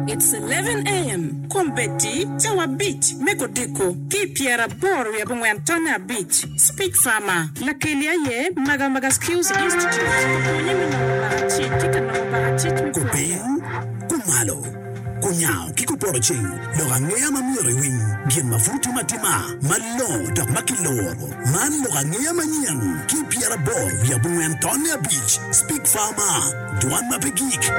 It's 11 AM, Kombeddi cawa abic me kodiko ki i pyeraboro wiye abongwen tonne abic, Speech Farmer, Lakeli aye Maga Maga Skills Institute, Ka pwonye me nongo bakacic ki ka nongo bakacic me pwonye. Kupiny, kumalo, kunyango ki kupoto ceng, lok angeya ma myero iwiny, gin ma pud timo atima, malongo dok ma kiloro. Man lok angeya manyen ki i 84 tonne abic, Speak Farmer, Dwan ma pe gik.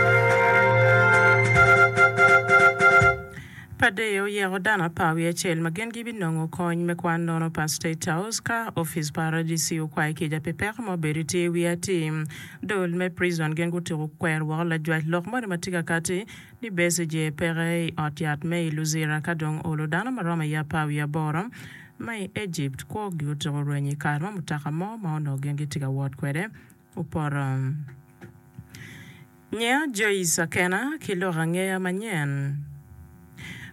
Padeyo oyeko dano apar wiye acel ma gin gibinongo kony me kwan nono pa State House ka opic pa RDC okwayo kica pi peko ma obedo tye i wiye atir. Dul me prison gin gutuko kwero woko lajwac lok moni ma tye ka kati ni Besigye peke i ot yat me i Luzira ka dong olo dano ma romo i apar wiye aboro ma i Egypt kwogi otuko rwenyo i kare ma mutoka mo ma onongo gin gitye ka wot kwede opoto. Nyer Joyce Akena ki lok angeya manyen.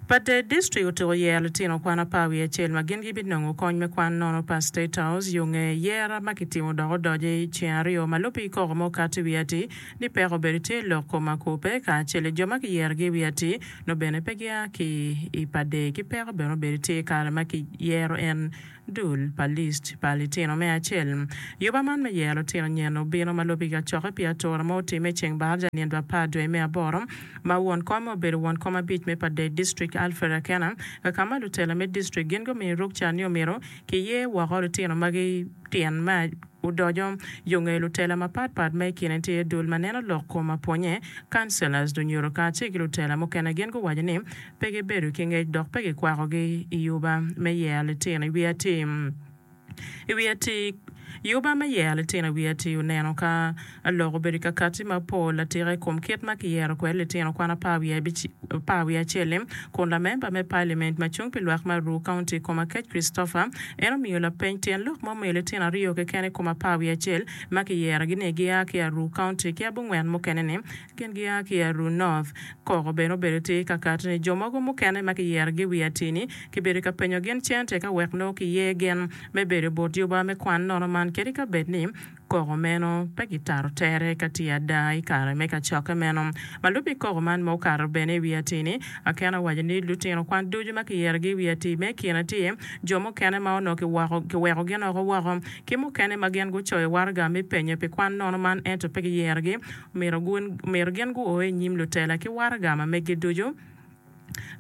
Pader District otuko yero litino kwan apar wiye acel ma gin gibinongo kony me kwan nono pa State House yo nge yera ma kitimo dok odoco i ceng aryo ma lubbe ki koko ma okato i wi atir ni peko obedo tye i lok kom akupe kacel i jo ma kiyerogi i wi atir nongo bene pe gia ki i Pader ki peko bene obedo tye i kare ma kiyero en Dul pa list pa litino me acel. Yuba man me yero litino nyen obino ma lubbe ki kacokke pi atura ma otimme i ceng baraja nino apar dwe me aboro ma won kom obedo won kom abic me Pader District Alfred Akena ka ka ma lutela me district gin gumiyo rukca ni omyero kiyer woko litino magi tyen me odoco yo nge lutela mapat pat ma i kine tye dul ma neno lok kom apwonye, councillors, lunyodo kacel ki lutela mukene gin guwaco ni Pe gibedo ki ngec dok pe kikwakogi i yuba me yero litino i wi atir. I wi atir, Yuba me yero litino i wi atir oneno ka lok obedo ka katti mapol atika i kom kit ma kiyero kwede litino kwan apar wiye acel-li, kun lamemba me paliament ma cung pi lwak me Aruu County Komakech Christopher en omiyo lapeny tyen lok ma omiyo litino aryo keken i kom apar wiye acel ma kiyerogi ni gia ki Aruu County ki abongwen mukene-ni Gin gia ki i Aruu North. Koko bene obedo tye ka kati ni jo mogo mukene ma kiyerogi i wi atir-ni kibedo ka penyo gin cente ka wek nongo kiye gin me bedo but yuba me kwan nono man kadi ka bed ni koko meno pe kitato tere ka tye ada i kare me kacokke meno. Ma lubbe ki koko man ma okato bene i wi atir-ni, Akena owaco ni lutino kwan ducu ma kiyerogi i wi atir me kine tye jo mukene ma onongo kiweko gin oko woko ki mukene ma gin gucoyo waraga me penyo pi kwan nono man ento pe kiyerogi. Myero gin guo i nyim lutela ki waraga ma meggi ducu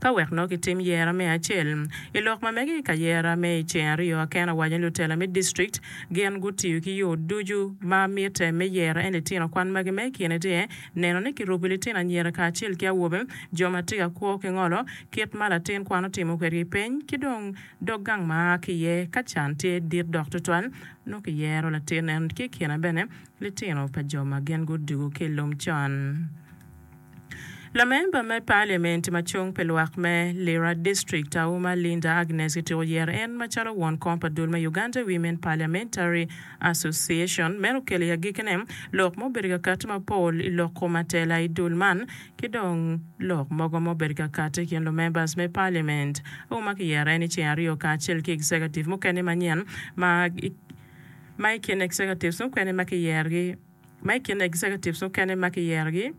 ka wek nongo gitim yera me acel. I lok ma mege i ka yera me i ceng aryo, Akena owaco ni lutela me district gin gutiyo ki yo ducu ma mitte me yero en litino kwan magi ma i kine tye neno ni kirubo litino anyira kacel ki awobe, jo ma tye ka kwo ki ngolo, kit ma latin kwan otimo kwedgi peny ki dong dog gang ma a ki iye ka can tye dit dok tutwal nongo kiyero latin en ki i kine bene Litino pa jo ma gin gudugo ki i lum con. Lamemba me Paliament ma cung pi lwak me Lira District, Auma Linda Agnes kitiko yero en macalo won kom pa dul me Uganda Women Parliamentary Association. Meno okelo i agikkine lok ma obedo ka katti mapol i lok kom atela i dul man ki dong lok mogo ma obedo ka katti i kin lumembas me Paliament. Auma kiyero en i ceng aryo kacel ki executive mukene manyen ma Ma i kin executives mukene ma kiyerogi Ma i kin executives mukene ma kiyerogi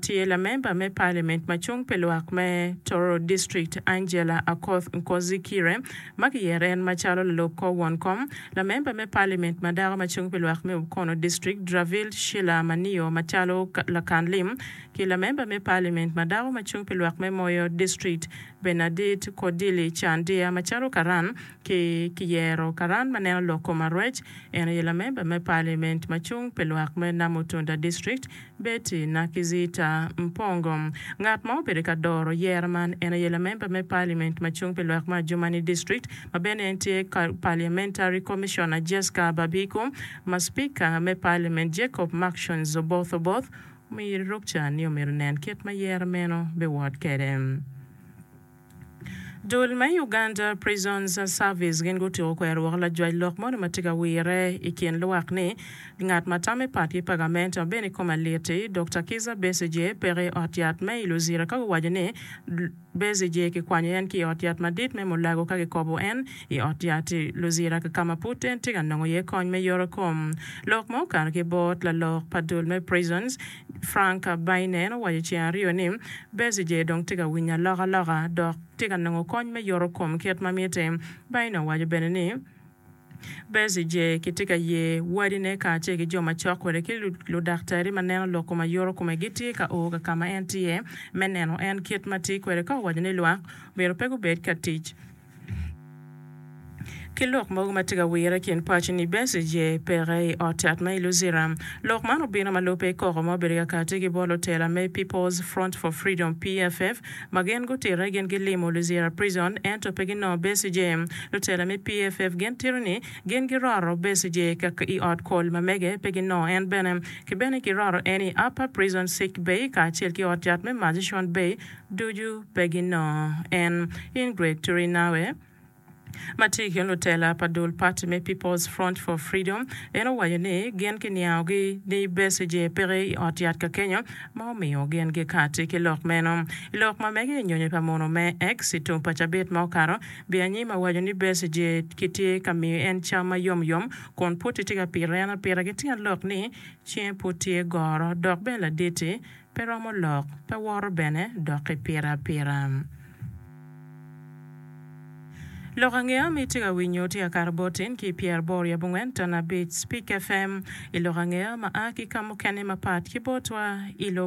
tye lamemba me Parliament ma cung pi lwak me Tororo District Angela Akoth Nkozikire ma kiyero en macalo lalub kor won kom, lamemba me Parliament ma dako ma cung pi lwak me Mukono District Draville Sheila Manio macalo lakan lim ki lamemba me Parliament ma dako ma cung pi lwak me Moyo District Bernadette Kodili Chandia macalo karan. Ki kiyero karan ma neno lok kom arwec, en aye lamemba me Parliament ma cung pi lwak me Namutunda District, Betty Nakizita Mpongo. Ngat ma obedo ka doro yero man en aye lamemba me Parliament ma cung pi lwak me Adjumani District ma bene en tye Parliamentary Commissioner Jesca Babiku ma Speaker me Parliament Jacob Marksons Oboth Oboth omiyo rukca ni omyero onen kit ma yero meno biwot kwede. Dul me Uganda Prisons Service gin gutyeko kwero woko lajwac lok moni ma tye ka wire i kin lwak ni ngat ma tame pat ki pa gamente ma bene kome lit-ti, Dokta Kizza Besigye peke i ot yat me i Luzira ka guwaco ni Besigye kikwanyo en ki i ot yat madit me Mulago ka kikobo en i ot yat i Luzira ka ma pud en tye ka nongo iye kony me yoto kom. Lok ma okato ki bot lalok pa dul me Prisons, Frank Baine en owaco ceng aryo ni Besigye dong tye ka winyo alokaloka dok tye ka nongo kony me yoto kom kit ma mitte. Baine owaco bene ni Besigye kitye ka ye wadine kacel ki jo macok kwede ki ludaktari ma neno lok kom ayoto kome gitye ka o ka ma en tye me neno en kit ma tye kwede ka owaco ni lwak myero pe gubed ka tic ki lok mogo ma tye ka wire i kin paco ni Besigye peke i ot cat ma i Luzira. Lok man obino ma lubbe koko ma obedo ka kati ki bot lutela me People's Front for Freedom, PFF, ma gin gutite gin gilimo Luzira Prison ento pe ginongo Besigye. Lutela me PFF gin tito ni gin giroto Besigye ka i ot kol ma mege pe ginongo en bene. Ki bene giroto en i Upper Prison Sick Bay kacel ki ot yat me Murchison Bay ducu pe ginongo en. Ingrid Turinawe, ma tye i kin lutela pa dul pati me People's Front for Freedom, en owaco ni gin kiniangogi ni Besigye peke i ot yat kakenyo ma omiyo gin gikati ki lok meno. I lok ma mege i nyonyo pa muno me X i tum pa cabit ma okato, Byanyima owaco ni Besigye kitye ka miyo en cam ma yom yom kun pud tye ka pito en apita ki tyen lok ni cinge pud tye goro dok bene ladit-ti pe romo lok, pe woto bene dok ipito apita. Lok angeya ma itye ka winyo tye ka kato bot in ki i pyeraboro i abongwen ton abic Speak FM i lok angeya ma a ki ka mukene mapat ki botwa i lobo.